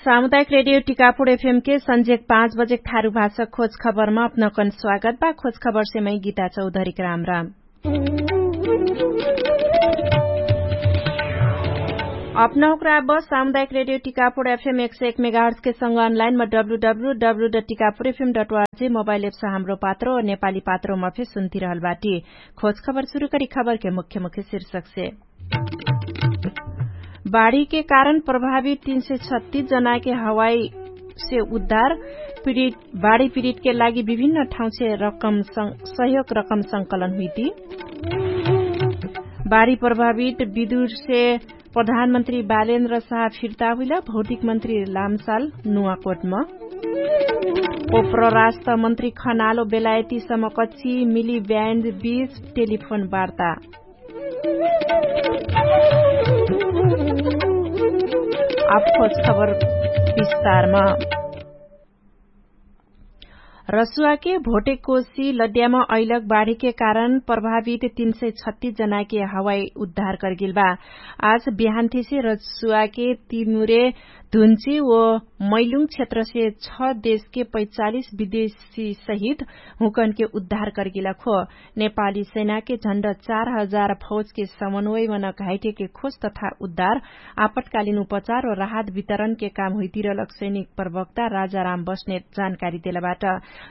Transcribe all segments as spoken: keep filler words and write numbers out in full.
सामुदायिक रेडियो टिकापुर एफएम के सन्जेक पाँच बजेक थारु भाषा खोज खबरमा अपनकन स्वागत बा। खोज खबर से मै गीता चौधरीक राम राम। अपनहुक राब सामुदायिक रेडियो टिकापुर एफएम एक सय एक मेगाहर्स के संग अनलाइन म W W W dot Tikapur FM dot ORG mobile apps Hamro Patro नेपाली पात्रो मफे सुन्तिरहल बाटी। खोज खबर सुरु करी खबर के मुख्य मुख्य शीर्षक से। बाढीके कारण प्रभावित तीन सय छत्तीस जनाके हवाई से उद्धार। बाढी पीडितके लागि विभिन्न ठाउँसे सहयोग रकम संकलन हुइती। बाढी प्रभावित विदुरसे प्रधानमन्त्री बालेन्द्र साह फिर्ता हुइला भौतिक मन्त्री लामसाल नुवाकोटम। ओप्र राष्ट्र मन्त्री खनालो बेलायती समकच्छि मिली ब्यान्ड बीच टेलिफोन वार्ता। आफोज खबर विस्तारमा। रसुवाके भोटेकोसी लड्यामा अइलक बाढीके कारण प्रभावित तीन सय छत्तीस जनाके हवाई उद्धार करगेल बा। आज बिहान्थिसे रसुवाके तिमुरे धुन्ची ओ मैलुङ क्षेत्रसे छ देशके पैचालिस विदेशी सहित हुँकनके उद्धार करगेला खो। नेपाली सेनाके झण्ड चार हजार फौजके समन्वयमन घाइटेके खोज तथा उद्धार आपतकालिन उपचार ओ राहत वितरणके काम हुइतिरलक सैनिक प्रवक्ता राजाराम बस्नेत जानकारी देलबाट।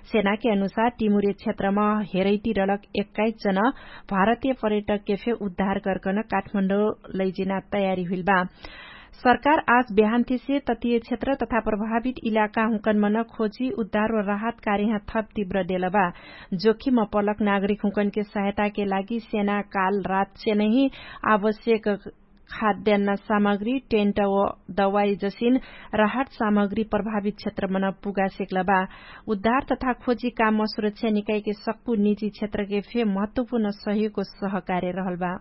सेनाके अनुसार टिमुरे क्षेत्रम हेरैतिरलक एक्काइस जन भारतीय पर्यटकके फे उद्धार गर्कन काठमाण्डौ लैजिना तयारी हुइलबा। सरकार आज बिहान्थिसे ततिय क्षेत्र तथा प्रभावित इलाका हुँकनमन खोजी उद्धार ओ राहत कार्यह थप तिव्र देलबा। जोखिम पलक नागरिक हुँकनके सहायताके लागि सेना काल रात सेनही आवश्यक खाद्यान्न सामग्री टेन्ट ओ दवाई जसिन राहत सामग्री प्रभावित क्षेत्रमन पुगा सेक्लबा। उद्धार तथा खोजी कामम सुरक्षा निकाइके सक्कु निजी क्षेत्रके फे महत्वपूर्ण सहयोगको सहकार्य रहलबा।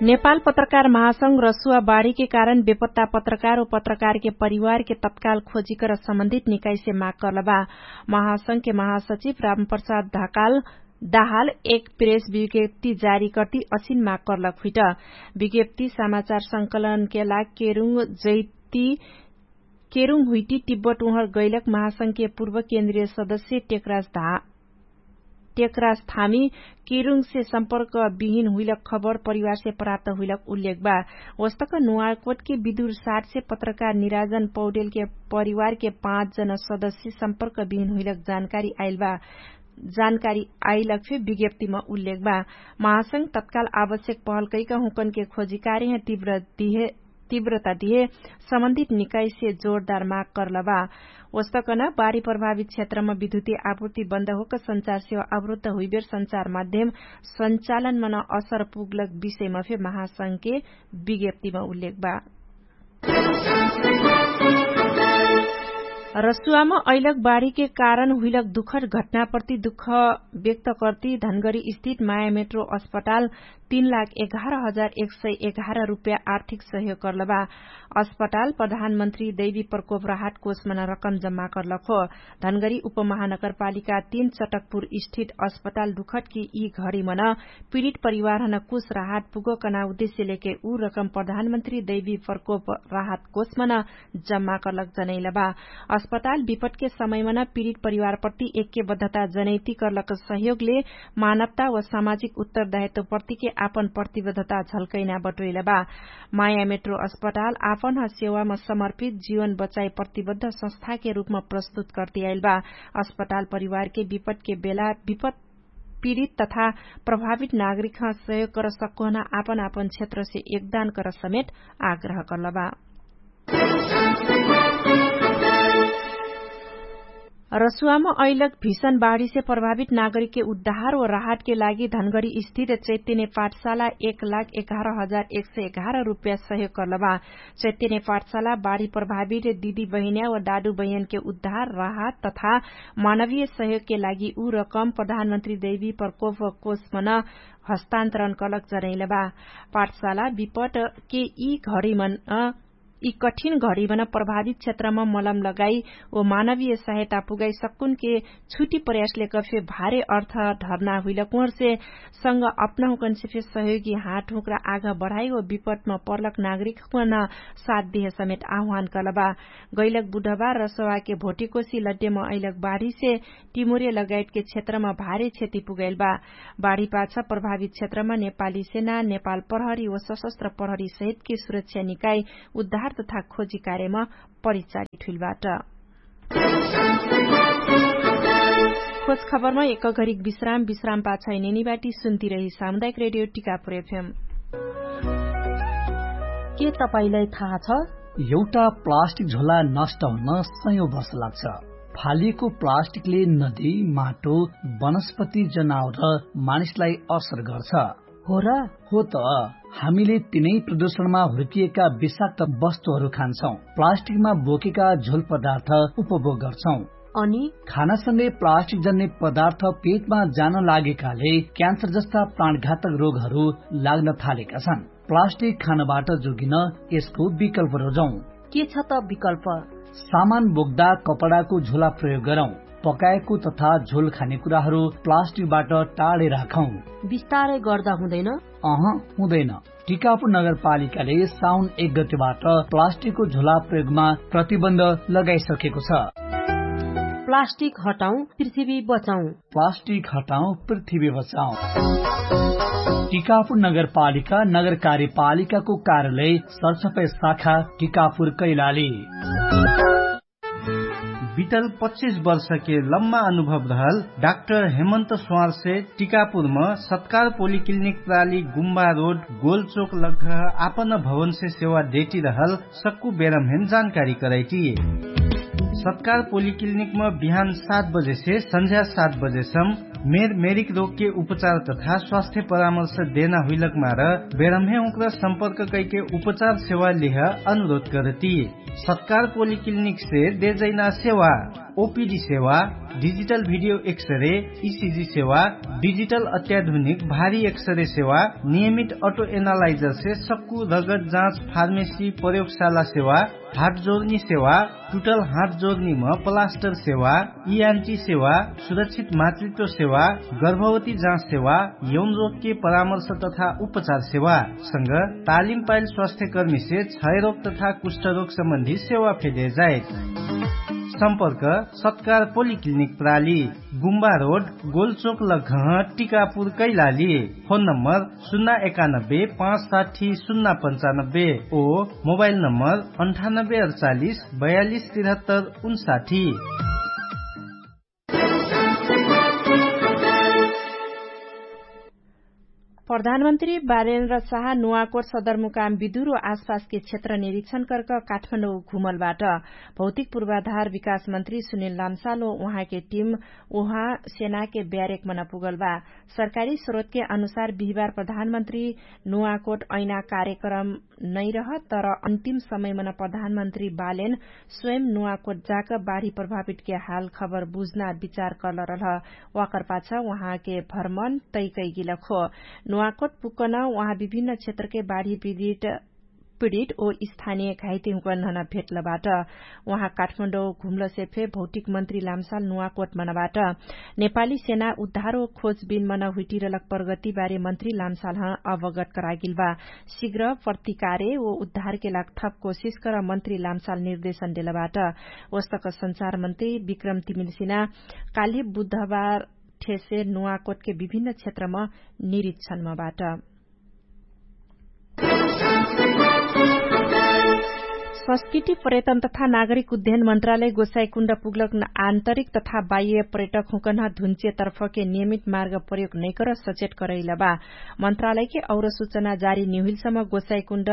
नेपाल पत्रकार महासंघ रसुवा बाढीके कारण बेपत्ता पत्रकार ओ पत्रकारके परिवारके तत्काल खोजिकर सम्बन्धित निकाइसे माग कर्लबा। महासंघके महासचिव रामप्रसाद धाकाल दाहाल एक प्रेस विज्ञप्ति जारी कर्ति असिन माग कर्लक हुइट। विज्ञप्ति समाचार संकलनके लाग केरुङ जैति केरुङ हुइटी तिब्बत उहर गैलक महासंघके पूर्व केन्द्रीय सदस्य टेकराज धा टेकराज थामी केरुङसे सम्पर्क बिहिन हुइलक खबर परिवारसे प्राप्त हुइलक उल्लेख बा। ओस्तक नुवाकोटके विदुर साटसे पत्रकार निराजन पौडेलके परिवारके पाँच जन सदस्य सम्पर्क बिहिन हुइलक जानकारी आइल बा। जानकारी आइलक फे विज्ञप्तिमा उल्लेख बा। महासंघ तत्काल आवश्यक पहल कैक हुँकनके खोजी कार्यह तिव्र दिहे तिव्रता दिहे सम्बन्धित निकाइसे जोरदार माग कर्लबा। ओस्तकन बाढी प्रभावित क्षेत्रमा विद्युती आपूर्ति बन्द होक संचार सेवा अवरुद्ध हुइबेर संचार माध्यम संचालनमन असर पुग्लक विषयमा फे महासंघके विज्ञप्तिमा उल्लेख बा। रसुवामा अइलक बाढीके कारण हुइलक दुखर घटनाप्रति दुख व्यक्त कर्ति धनगरी स्थित माया मेट्रो अस्पताल तीन लाख एघार हजार एक सय एघार रुप्या आर्थिक सहयोग कर्लबा। अस्पताल प्रधानमन्त्री दैवी प्रकोप राहत कोषमन रकम जम्मा कर्लक हो। धनगरी उपमहानगरपालिका तीन चटकपुर स्थित अस्पताल दुखटकी यी घडीमन पीडित परिवारहन कुछ राहत पुगकना उद्देश्य लेके उ रकम प्रधानमन्त्री दैवी प्रकोप राहत कोषमन जम्मा कर्लक जनैलबा। अस्पताल विपटके समयमन पीडित परिवारप्रति एक्यबद्धता जनैति कर्लक सहयोगले मानवता व सामाजिक उत्तरदायित्वप्रतिके आपन प्रतिबद्धता झल्कैना बटोइलबा। माया मेट्रो अस्पताल आपन ह सेवामा समर्पित जीवन बचाइ प्रतिबद्ध संस्थाके रूपमा प्रस्तुत कर्तियाइलबा। अस्पताल परिवारके विपटके बेला विपट पीडित तथा प्रभावित नागरिकह सहयोग कर सक्कोहना आपन आपन क्षेत्रसे योगदान कर समेत आग्रह कर्लबा। रसुवामा अइलक भीषण बाढीसे प्रभावित नागरिकके उद्धार व राहतके लागि धनगरी स्थित चैत्यने पाठशाला एक लाख एघार हजार एक सय एघार रुप्या सहयोग कर्लबा। चैत्यने पाठशाला बाढी प्रभावित दिदी बहिन्या व दादु बहिन्के उद्धार राहत तथा मानवीय सहयोगके लागि उ रकम प्रधानमन्त्री दैवी प्रकोप कोषमन हस्तान्तरण कर्लक जनैलबा। पाठशाला विपटके यि घडीमन यि कठिन घडीमा प्रभावित क्षेत्रमा मलम लगाई व मानवीय सहायता पुगाई सक्कुनके छुटी प्रयासले कफे भारे अर्थ ढर्ना हुइलक उहरसे संग अपना हुकनसे फे सहयोगी हाट हुक्रा आघ बढाई व विपटमा पर्लक नागरिक हुकन साथ दिहे समेत आह्वान कलबा। गैलक बुढबा रसवाके भोटिकोसी लड्डेमा अइलक बाढीसे टिमुरे लगायतके क्षेत्रमा भारे क्षति पुगाइलबा। बाढीपाछ प्रभावित क्षेत्रमा नेपाली सेना नेपाल प्रहरी व सशस्त्र प्रहरी सहितके सुरक्षा निकाई उद्धार तथा खोजी कार्यमा परिचारित हुइलबाट। खोज खबरमा एक घरिक विश्राम विश्राम पाछ इनेनी बाटी सुन्ती रही सामुदायिक रेडियो टिकापुर एफएम। के तपाईंलाई थाहा छ? एउटा प्लास्टिक झोला नष्ट हुन सयौं वर्ष लाग्छ। फालिएको प्लास्टिकले नदी, माटो, वनस्पति, जनावर र मानिसलाई असर गर्छ। हो र? हो त। हामीले तिनै प्रदूषणमा हुर्किएका विषाक्त वस्तुहरू खान्छौं, प्लास्टिकमा बोकेका झोल पदार्थ उपभोग गर्छौं। अनि खानासँगै प्लास्टिक जन्ने पदार्थ पेटमा जान लागेकाले क्यान्सर जस्ता प्राणघातक रोगहरू लाग्न थालेका छन्। प्लास्टिक खानबाट जोगिन यसको विकल्प रोजौं। के छ त विकल्प? सामान बोक्दा कपडाको झोला प्रयोग गरौं। पकाएको तथा झोल खाने कुराहरू प्लास्टिकबाट टाढे राखौं। बिस्तारै गर्दा हुँदैन? अह, हुँदैन। टिकापुर नगरपालिकाले साउन एक गतिबाट प्लास्टिकको झोला प्रयोगमा प्रतिबन्ध लगाइसकेको छ। प्लास्टिक हटाउँ, पृथ्वी बचाउँ। प्लास्टिक हटाउँ, पृथ्वी बचाउँ। टिकापुर नगरपालिका नगर कार्यपालिकाको कार्यालय सरसफाइ शाखा टिकापुर कैलाली। बितल पच्चिस वर्षके लम्मा अनुभव रहल डाक्टर हेमन्त स्वारसे टिकापुरम सत्कार पोलिक्लिनिक प्राली गुम्बा रोड गोलचोक लग्घ आपन भवनसे सेवा देटिरहल सक्कु बेरमहेन जानकारी करैटी। सत्कार पोलिक्लिनिकम बिहान सात बजेसे सन्झ्या सात बजेसम मेर मेरिक रोगके उपचार तथा स्वास्थ्य परामर्श देना हुइलक मार बेरमहे उक्र सम्पर्क कैके उपचार सेवा लिह अनुरोध करती। सत्कार पोलिक्लिनिकसे देजैना सेवा ओपिडी सेवा, डिजिटल भिडियो एक्सरे, इसिजी सेवा, डिजिटल अत्याधुनिक भारी एक्सरे सेवा, नियमित अटो एनालाइजरसे सक्कु रगत जाँच फार्मेसी प्रयोगशाला सेवा, हात जोर्नी सेवा, टुटल हात जोर्नीम प्लास्टर सेवा, इआन्टी सेवा, सुरक्षित मातृत्व सेवा, गर्भवती जाँच सेवा, यौनरोगके परामर्श तथा उपचार सेवा संग तालिम पाइल स्वास्थ्यकर्मीसे क्षयरोग तथा कुष्ठरोग सम्बन्धी सेवा फेदे जाइत। सम्पर्क सत्कार पोलिक्लिनिक प्राली, गुम्बा रोड, गोलचोक लग्घह, टिकापुर कैलाली। फोन नम्बर सुन्ना एकानब्बे पाँच साठी सुन्ना पन्चानब्बे ओ मोबाइल नम्बर अन्ठानब्बे अडचालिस बयालिस तिरहत्तर उन्साठी। प्रधानमन्त्री बालेन्द्र साहा नुवाकोट सदरमुकाम विदुर आसपासके क्षेत्र निरिक्षण कर्क काठमाडौं घुमलबाट। भौतिक पूर्वाधार विकास मन्त्री सुनिल लाम्साल उहाँके टिम उहाँ सेनाके ब्यारेक मन पुगलबा। सरकारी स्रोतके अनुसार बिहिबार प्रधानमन्त्री नुवाकोट ऐना कार्यक्रम नैरह तर अन्तिम समयमन प्रधानमन्त्री बालेन स्वयं नुवाकोट जाक बाढी प्रभावितके हाल खबर बुझ्ना विचार कर्लरलह। वाकरपाछ उहाँके भ्रमण तैकैगिलक हो। नुवाकोट पुक्कन उहाँ विभिन्न क्षेत्रके बाढी विदित पिडित ओ स्थानिय घाइते हुँकन नहन भेटलबाट। उहाँ काठमाडौं घुम्लसे फे भौतिक मन्त्री लाम्साल नुवाकोट मनबाट। नेपाली सेना उद्धार ओ खोजबिन मन हुइटिरलक प्रगतिबारे मन्त्री लाम्सालह अवगत करागिलबा। शिग्र प्रतिकारे ओ उद्धारके लाग थप कोसिस कर मन्त्री लाम्साल निर्देशन देलबाट। वस्तक सञ्चार मन्त्री विक्रम तिमिलसिना काल्हि बुधबार ठेसे नुवाकोटके विभिन्न क्षेत्रम निरिक्षणमबाट। संस्कृति पर्यटन तथा नागरिक उद्यन मन्त्रालय गोसाइकुण्ड पुग्लक आन्तरिक तथा बाह्य पर्यटक हुँकन्ह धुन्चे तर्फके नियमित मार्ग प्रयोग नैकर सचेट करैलबा। मन्त्रालयके और सुचना जारी निहुइलसम गोसाइकुण्ड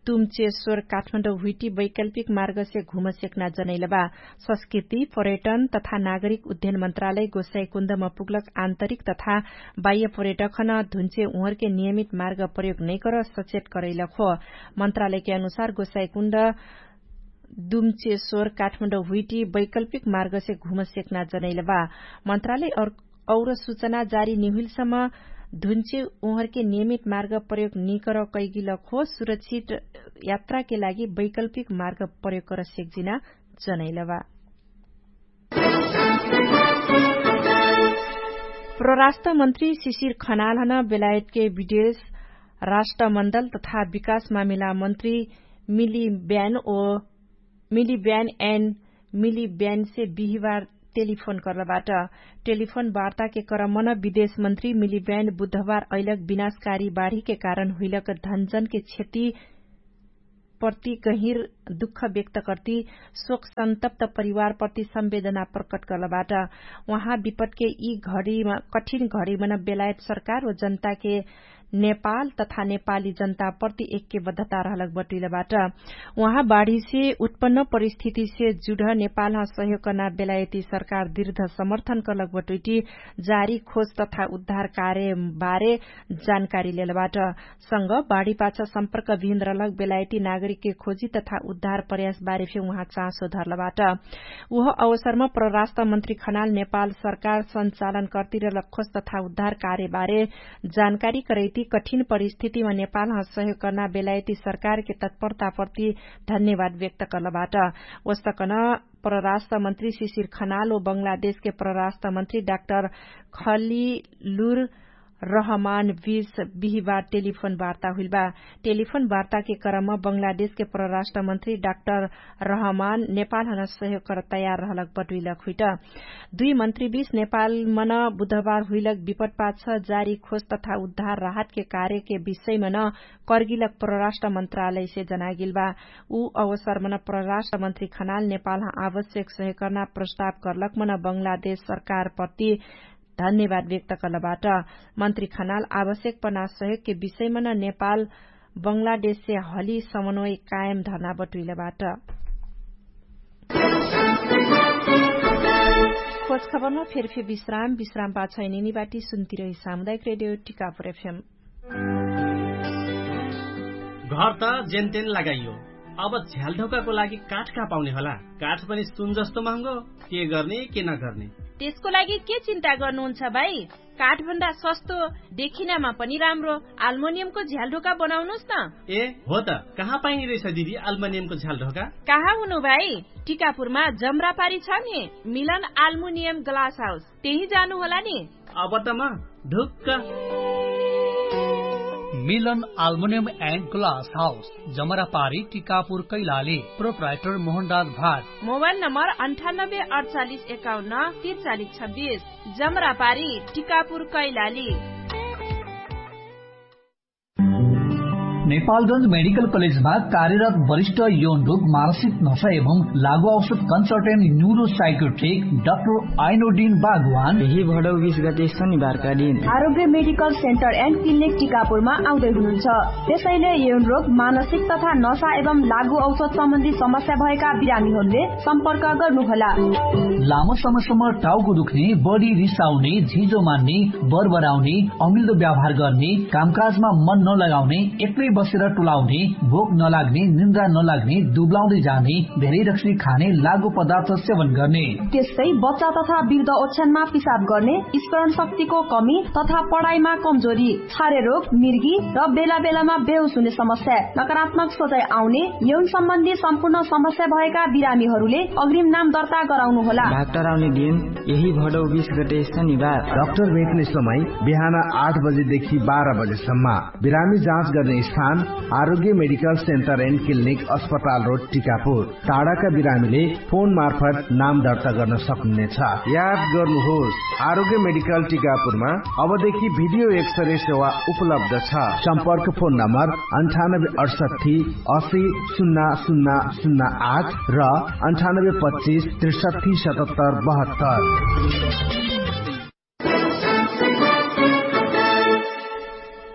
तुम्चे स्वर काठमाडौं हुइटी वैकल्पिक मार्गसे घुमसेक्ना जनैलबा। संस्कृति पर्यटन तथा नागरिक उद्यन मन्त्रालय गोसाइकुण्डम पुग्लक आन्तरिक तथा बाह्य पर्यटकन धुन्चे उहरके नियमित मार्ग प्रयोग नैकर सचेट करैलक हो। मन्त्रालयके अनुसार गोसाइकुण्ड दुम्चे स्वर काठमाडौं हुइटी वैकल्पिक मार्गसे घुमसेक्ना जनैलबा। मन्त्रालय और सुचना जारी निहुइलसम धुन्चे उहरके नियमित मार्ग प्रयोग निकर कैगिलक हो सुरक्षित यात्राके लागि वैकल्पिक मार्ग प्रयोग कर सेक्जिना। जनैलबा परराष्ट्र मन्त्री शिशिर खनालहन बेलायतके विदेश राष्ट्रमण्डल तथा विकास मामिला मन्त्री मिली ब्यान ओ मिली ब्यान एन मिली ब्यानसे बिहिवार टेलिफोन कर्लबाट। टेलिफोन वार्ताके क्रमन विदेश मन्त्री मिली ब्यान बुधवार अइलक विनाशकारी बाढीके कारण हुइलक धनजनके क्षति प्रति गहिर दुःख व्यक्त कर्ति शोक सन्तप्त परिवार प्रति सम्वेदना प्रकट कर्लबाट। उहाँ विपटके यि घडीमा कठिन घडीमा न बेलायत सरकार व जनताके नेपाल तथा नेपाली जनता प्रति एक्के बद्धता रहलक बटुइलबाट। उहाँ बाढीसे उत्पन्न परिस्थितिसे जुढ नेपालह सहयोग कर्ना बेलायती सरकार दृढ समर्थन कर्लक बटुइटी जारी खोज तथा उद्धार कार्य बारे जानकारी लेलबाट। संग बाढीपाछ सम्पर्क विहिन्द्रलक बेलायती नागरिकके खोजी तथा उद्धार प्रयास बारे फे उहाँ चाँसो धरलबाट। उह अवसरमा परराष्ट्र मन्त्री खनाल नेपाल सरकार सञ्चालन कर्तिरलक खोज तथा उद्धार कार्य बारे जानकारी करैती कठिन परिस्थितिमा नेपालह सहयोग कर्ना बेलायती सरकारके तत्परता प्रति धन्यवाद व्यक्त कर्लबाट। ओस्तकन परराष्ट्र मन्त्री शिशिर खनाल ओ बङ्गलादेशके परराष्ट्र मन्त्री डाक्टर खलिलुर रहमान बीच बिहिबार टेलिफोन वार्ता हुइलबा। टेलिफोन वार्ताके क्रममा बङ्गलादेशके परराष्ट्र मन्त्री डाक्टर रहमान नेपालहन सहयोग कर तयार रहलक बटुइलक हुइट। दुइ मन्त्री बीच नेपालमन बुधबार हुइलक विपटपाछ जारी खोज तथा उद्धार राहतके कार्यके विषयमन कर्गिलक परराष्ट्र मन्त्रालयसे जनागिलबा। उ अवसरमन परराष्ट्र मन्त्री खनाल नेपालह आवश्यक सहयोग कर्ना प्रस्ताव कर्लकमन बङ्गलादेश सरकारप्रति धन्यवाद व्यक्त कर्लबाट। मन्त्री खनाल आवश्यक पना सहयोगके विषयमन नेपाल बङ्गलादेशसे हली समन्वय कायम धर्ना बटुइलबाट। खोज खबरमा फेरफे विश्राम विश्राम पाछैनिनी बाटी सुन्तिरही सामुदायिक रेडियो टिकापुर एफएम। घर त जेनतेन लगाइयो, अब झ्यालढोकाको लागि काठ कहाँ पाउने होला? काठ पनि सुन जस्तो महँगो। के गर्ने के नगर्ने? त्यसको लागि के चिन्ता गर्नुहुन्छ भाइ? काठभन्दा सस्तो देखिनामा पनि राम्रो आल्मोनियमको झ्यालढोका बनाउनुस् न। ए हो त, कहाँ पाइने रहेछ दिदी आल्मोनियमको झ्यालढोका? कहाँ हुनु भाइ? टिकापुरमा जमरापारी छ नि, मिलन आल्मोनियम ग्लास हाउस, त्यही जानु होला नि। अब त म ढुक्क। मिलन आल्मोनियम एन्ड ग्लास हाउस, जमरापारी टिकापुर कैलाली। प्रोप्राइटर मोहनराज भाट। मोबाइल नम्बर अन्ठानब्बे अडचालिस एकाउन्न तिरचालिस छब्बिस। जमरापारी टिकापुर कैलाली। नेपालगञ्ज मेडिकल कलेजमा कार्यरत वरिष्ठ यौन रोग, मानसिक नशा एवं लागु औषध कन्सल्टेन्ट न्युरो साइकोट्रिक डाक्टर आइनोडिन बागवान यही भडौ बिस गते शनिबारका दिन आरोग्य मेडिकल सेन्टर एन्ड क्लिनिक टिकापुरमा आउँदै हुनुहुन्छ। त्यसैले यौन रोग, मानसिक तथा नशा एवं लागु औषध सम्बन्धी समस्या भएका बिरामीहरूले सम्पर्क गर्नुहोला। लामो समयसम्म टाउको दुख्ने, बढी रिसाउने, झिजो मान्ने, बरबराउने, अमिल्दो व्यवहार गर्ने, कामकाजमा मन नलगाउने, एक्लै बसेर टुलाउने, भोक नलाग्ने, निन्द्रा नलाग्ने, दुब्लाउँदै जाने, धेरै रक्सी खाने, लागु पदार्थ सेवन गर्ने। त्यस्तै बच्चा तथा वृद्ध ओछ्यानमा पिसाब गर्ने, स्मरण शक्तिको कमी तथा पढाइमा कमजोरी, छारे रोग, मिर्गी र बेला बेलामा बेहोस हुने समस्या, नकारात्मक सोचाइ आउने, यौन सम्बन्धी सम्पूर्ण समस्या भएका बिरामीहरूले अग्रिम नाम दर्ता गराउनु होला। डाक्टर आउने दिन यही भडौ बिस गते शनिबार। डाक्टर भेट्ने समय बिहान आठ बजेदेखि बाह्र बजेसम्म। बिरामी जाँच गर्ने स्थान आरोग्य मेडिकल सेन्टर एन्ड क्लिनिक, अस्पताल रोड, टिकापुर। टाढाका बिरामीले फोन मार्फत नाम दर्ता गर्न सक्नुहुनेछ। याद गर्नुहोस्, आरोग्य मेडिकल टिकापुरमा अबदेखि भिडियो एक्सरे सेवा उपलब्ध छ। सम्पर्क फोन नम्बर अन्ठानब्बे अठसट्ठी असी सुन्ना सुन्ना सुन्ना आठ र अन्ठानब्बे पच्चिस त्रिसट्ठी सतहत्तर बहत्तर।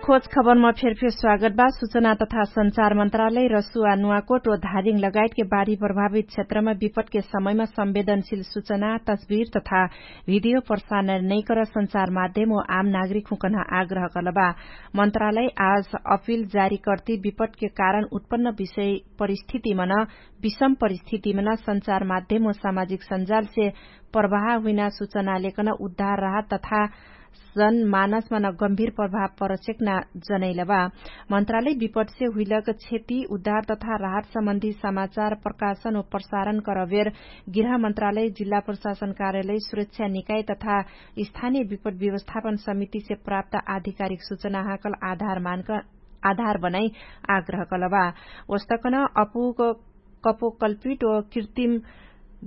खोज खबरमा फेरफेर स्वागत बा। सूचना तथा सञ्चार मन्त्रालय रसुवा नुवाकोट व धारिङ लगायतके बाढी प्रभावित क्षेत्रमा विपटके समयमा संवेदनशील सूचना, तस्बिर तथा भिडियो प्रसारण नैकर सञ्चार माध्यम व आम नागरिक हुँकन आग्रह कलबा। मन्त्रालय आज अपिल जारी कर्ति विपटके कारण उत्पन्न विषय परिस्थितिमन विषम परिस्थितिमन सञ्चार माध्यम व सामाजिक सञ्जालसे प्रवाह हुइना सूचना लेकन उद्धार राहत तथा जन मानसमा न गम्भीर प्रभाव परचेक ना जनैलबा। मन्त्रालय विपटसे हुइलक क्षति उद्धार तथा राहत सम्बन्धी समाचार प्रकाशन व प्रसारण करबेर गृह मन्त्रालय जिल्ला प्रशासन कार्यालय सुरक्षा निकाय तथा स्थानीय विपट व्यवस्थापन समितिसे प्राप्त आधिकारिक सूचना हाकल आधार मानक आधार बनाई आग्रह कलबा। वस्तकन अपुग कपोकल्पिट व कृत्रिम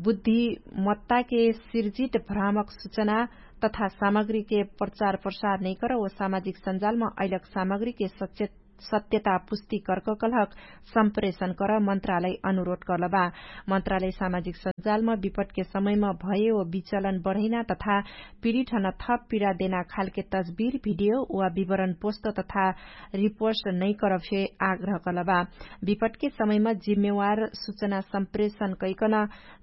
बुद्धिमत्ताके सिर्जित भ्रामक सूचना तथा सामग्रीके प्रचार प्रसार नैकर व सामाजिक सञ्जालमा अइलक सामग्रीके सत्यता पुष्टि कर्क कलहक सम्प्रेषण कर मन्त्रालय अनुरोध कर्लबा। मन्त्रालय सामाजिक सञ्जालमा विपटके समयमा भए व विचलन बढैना तथा पिडिठन थप पिडा देना खालके तस्बिर भिडियो वा विवरण पोष्ट तथा रिपोर्ट नैकर फे आग्रह कलबा। विपटके समयमा जिम्मेवार सूचना सम्प्रेषण कैकन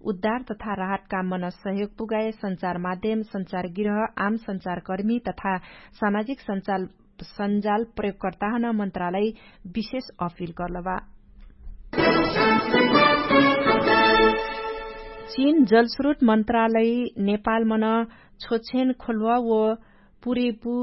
उद्धार तथा राहत काममा न सहयोग पुगाए सञ्चार माध्यम सञ्चार गृह आम सञ्चारकर्मी तथा सामाजिक सञ्चार सञ्जाल प्रयोगकर्ताहन मन्त्रालय विशेष अपिल कर्लबा। चीन जलस्रोत मन्त्रालय नेपालमन छोछेन खोल्वा व पुरेपु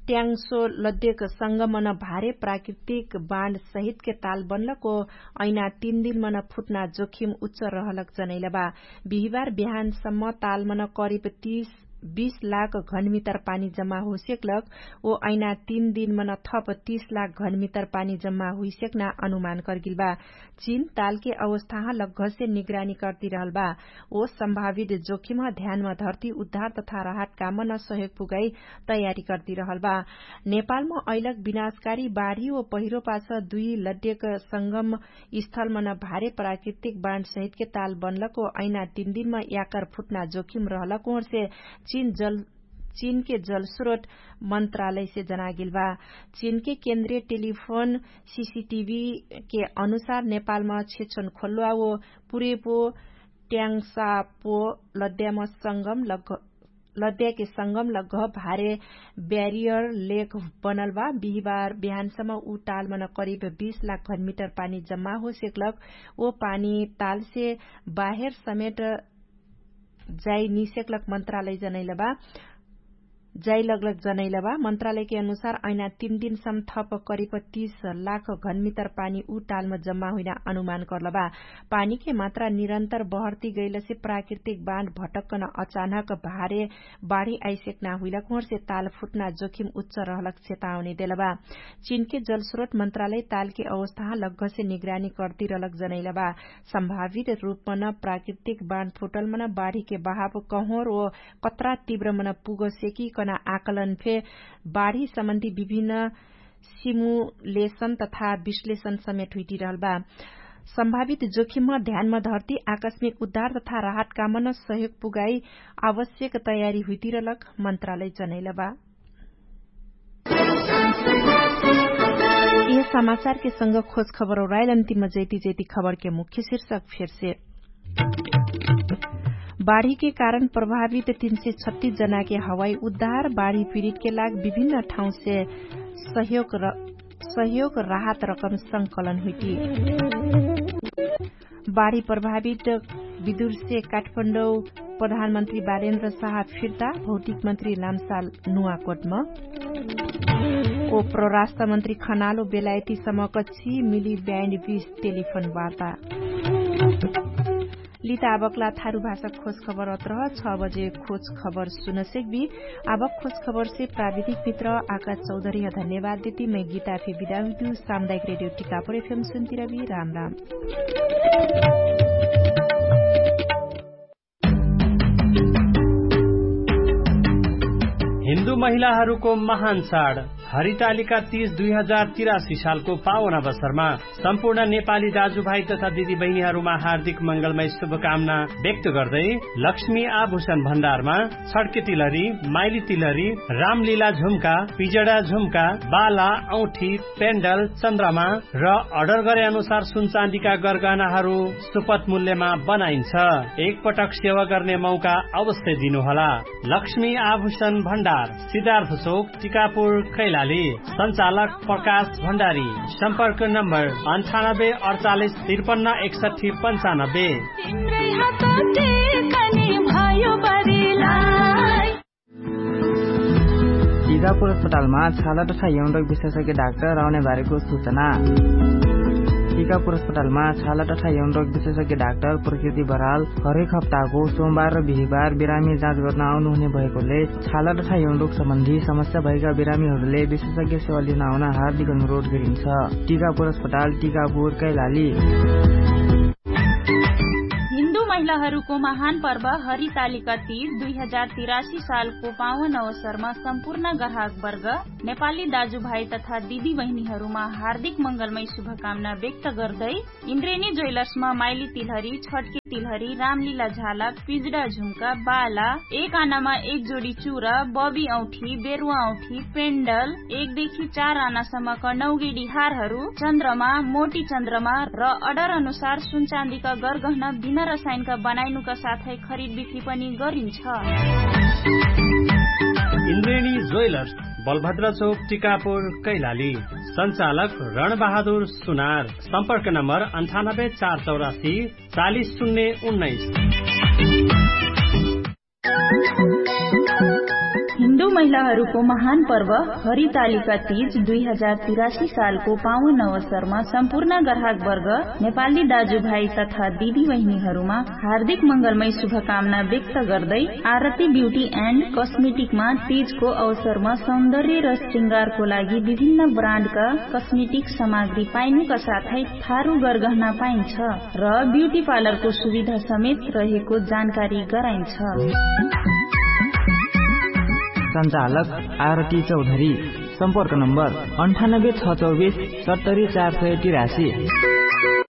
ट्याङ्सो लद्यक संगमन भारे प्राकृतिक बाँड सहितके ताल बन्लको ऐना तीन दिनमन फुट्ना जोखिम उच्च रहलक जनैलबा। बिहिबार बिहानसम्म तालमन करिब तीस बीस लाख घनमितर पानी जम्मा हुइसेक्लक ओ ऐना तीन दिनमन थप तीस लाख घनमितर पानी जम्मा हुइसेक्ना अनुमान कर्गिलबा। चीन तालके अवस्थाह लग्घसे निगरानी कर्तिरहलबा। ओ सम्भावित जोखिमह ध्यानमा धर्ती उद्धार तथा राहत कामन सहयोग पुगाई तयारी कर्तिरहलबा। नेपालम अइलक विनाशकारी बाढी ओ पहिरो पाछ दुई लड्यक संगम स्थलमन भारे प्राकृतिक बाँड सहितके ताल बन्लक ओ ऐना तीन दिनमा याकर फुट्ना जोखिम रहलक ओहरसे चीनके जलस्रोत मन्त्रालयसे जनागेलबा। चीनके केन्द्रीय टेलिफोन सिसिटिभीके अनुसार नेपालमा छेछोन खोल्वा ओ पुरेपो ट्याङ्सापो लद्याम संगम लद्याके संगम लग्घ भारे ब्यारियर लेक बनलबा। बिहिबार बिहानसम्म उ टालमन करिब बीस लाख घनमिटर पानी जम्मा होसेक्लक ओ पानी तालसे बाहेर समेट जाई निसेक्लक मन्त्रालय जनैलबा। जाई लग्लक जनैलबा मन्त्रालयके अनुसार ऐना तीन दिनसम्म थप करिब तीस लाख घनमितर पानी उ टालम जम्मा हुइना अनुमान कर्लबा। पानीके मात्रा निरन्तर बहर्ती गैलसे प्राकृतिक बाँड भटक्कन अचानक भारे बाढी आइसेक्ना हुइलक ओहरसे ताल फुट्ना जोखिम उच्च रहलक चेतावनी देलबा। चीनके जलस्रोत मन्त्रालय तालके अवस्थाह लग्घसे निगरानी कर्तिरलक जनैलबा। सम्भावित रूपमन प्राकृतिक बाँड फुटलमन बाढीके बहाव कहोर ओ कत्रा तिब्रमन पुगसेकी कना आकलन फे बाढी सम्बन्धी विभिन्न सिमुलेशन तथा विश्लेषण समेट हुइटिरहलबा। सम्भावित जोखिमह ध्यानमा धर्ती आकस्मिक उद्धार तथा राहत कामन सहयोग पुगाई आवश्यक तयारी हुइटिरलक मन्त्रालय जनैलबा। यह समाचारके संग खोज खबर ओराइल अन्तिम जैती जैती खबरके मुख्य शिर्षक फेरसे। बाढीके कारण प्रभावित तीन सय छत्तीस जनाके हवाई उद्धार बाढी पिरितके लाग विभिन्न ठाउँसे सहयोग राहत रकम संकलन हुइटी। बाढी प्रभावित विदुरसे काठमाडौँ प्रधानमन्त्री बारेन्द्र साहा फिर्ता भौतिक मन्त्री लामसाल नुवाकोटम। ओ प्रराष्ट्र मन्त्री खनालो बेलायती समकक्षी मिली ब्यान्ड बीस टेलिफोन वार्ता। लिता आबकला थारु भाषा खोज खबर अत्रह छ बजे खोज खबर सुनसेक बी। आबक खोज खबरसे प्राविधिक मित्र आकाश चौधरीह धन्यवाद देती मै गीता फे बिदा हुइदु। सामुदायिक रेडियो टिकापुर एफएम सुन्तिरबी राम राम। हिन्दू महिलाहरूको महान चाड हरितालिका तीस दुई हजार तिरासी सालको पावन अवसरमा सम्पूर्ण नेपाली दाजुभाइ तथा दिदीबहिनीहरूमा हार्दिक मंगलमय शुभकामना व्यक्त गर्दै लक्ष्मी आभूषण भण्डारमा छड्के तिलहरी, माइली तिलहरी, रामलीला झुम्का, पिजडा झुम्का, बाला, औठी, पेन्डल, चन्द्रमा र अर्डर गरे अनुसार सुनचाँदीका गरगहनाहरू सुपथ मूल्यमा बनाइन्छ। एकपटक सेवा गर्ने मौका अवश्य दिनुहोला। लक्ष्मी आभूषण भण्डार, सिद्धार्थ चोक, टिकापुर, कैलाली। सञ्चालक प्रकाश भण्डारी। सम्पर्क नम्बर अन्ठानब्बे अडचालिस त्रिपन्न एकसट्ठी पन्चानब्बे। तिम्रै हात टेकनी भयो बरिलाई। टिकापुर अस्पतालमा छाला तथा यौनरोग विशेषज्ञ डाक्टर आउने बारेको सूचना। टिकापुर अस्पतालमा छाला तथा यौनरोग विशेषज्ञ डाक्टर प्रकृति बराल हरेक हप्ताको सोमबार र बिहिबार बिरामी जाँच गर्न आउनुहुने भएकोले छाला तथा यौनरोग सम्बन्धी समस्या भएका बिरामीहरूले विशेषज्ञ सेवा लिन आउन हार्दिक अनुरोध गरिन्छ। टिकापुर अस्पताल, टिकापुर, कैलाली। हिन्दू महिलाहरूको महान पर्व हरितालिका तीज दुई हजार तिरासी सालको पावन अवसरमा सम्पूर्ण ग्राहक वर्ग, नेपाली दाजुभाइ तथा दिदी बहिनीहरूमा हार्दिक मङ्गलमय शुभकामना व्यक्त गर्दै इन्द्रेणी ज्वेलर्समा माइली तिलहरी, छटके तिलहरी, रामलीला झाला, पिजडा झुम्का, बाला, एक आनामा एक जोडी चुरा, बबी औठी, बेरुवा औठी, पेन्डल, एक देखि चार आनासम्मका नौगेडी हारहरू, चन्द्रमा, मोटी चन्द्रमा र अर्डर अनुसार सुनचाँदीका गरगहना बिना रसायनका बनाइनुका साथै खरिद बिक्री पनि गरिन्छ। इन्द्रेणी ज्वेलर्स, बलभद्र चोक, टिकापुर, कैलाली। सञ्चालक रणबहादुर सुनार। सम्पर्क नम्बर अन्ठानब्बे चार चौरासी चालिस शून्य उन्नाइस। हिन्दू महिलाहरूको महान पर्व हरितालिका तीज दुई हजार तिरासी सालको पावन अवसरमा सम्पूर्ण ग्राहक वर्ग, नेपाली दाजुभाइ तथा दिदी बहिनीहरूमा हार्दिक मङ्गलमय शुभकामना व्यक्त गर्दै आरती ब्युटी एन्ड कस्मेटिकमा तीजको अवसरमा सौन्दर्य र श्रृङ्गारको लागि विभिन्न ब्रान्डका कस्मेटिक सामग्री पाइनुका साथै थारु गरगहना पाइन्छ र ब्युटी पार्लरको सुविधा समेत रहेको जानकारी गराइन्छ। सञ्चालक आरती चौधरी। सम्पर्क नम्बर अन्ठानब्बे छ चौबिस सत्तरी चार सय तिरासी।